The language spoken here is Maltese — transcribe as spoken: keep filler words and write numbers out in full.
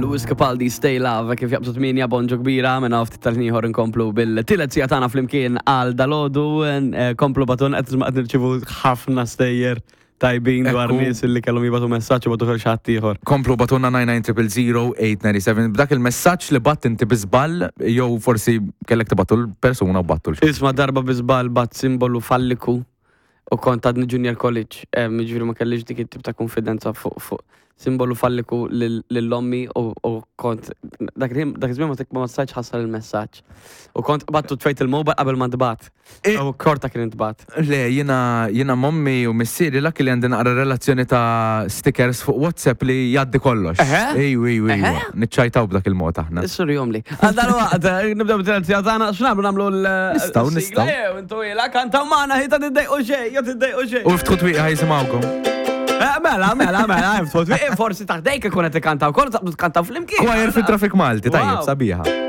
Lewis Capaldi, "Stay Love", kif jaqbżu tmienja, bonġu kbira, minna ftit tal-ieħor nkomplu bil-tielet siegħa tagħna flimkien għal dalgħodu, eh, komplu ibgħatulna, qed qed nirċivu ħafna stejjer tajbin dwar Ekku. nies li kellhom jibagħtu messaġġ u bagħtu xi ħadd ieħor. Komplu ibgħatulna nine nine zero zero eight nine seven b'dak il-messaġġ li bgħatt inti bi żball jew forsi kellek tibgħatu l-persuna u bgħattu l Isma', darba bi żball bgħatt simbolu falliku u kont għadni junior college, eh, ġifieri ma kellix dik it-tip ta' konfidenza fuq fuq simbolu falliku lil ommi u u kont dak il- dak iż-żmien ma tek- ma stajtx ħassar il-messaġġ. U kont bgħattu, tfejt il-mobile qabel ma ntbagħat. E- U korta kien intbagħat. Le, jiena jiena m'ommi u missieri lak li għandi naqra relazzjoni ta' stickers fuq WhatsApp li jgħaddi kollox. Eħe? Ejju, ejju, ejju. Eħe? Niċċajtaw b'dak il-mod aħna. Is-sur jomli. Għal dal-waqt, nibdew bit-tielet tagħna, x'nagħmlu, nagħmlu l Nistgħu, sigla, nistgħu. jew intu ila kantaw magħna, ħita tiddejqu xejn, jew tiddejqu xejn. U ftħu twieqi ħa jisimgħukom. Eh, mela, mela, mela, ftħu twieqi, forsi taħdejk ikun qed ikkantaw, kollu taqbdu tkantaw flimkien. Choir fit traffic Malti, tajjeb, Wow. sabiħa.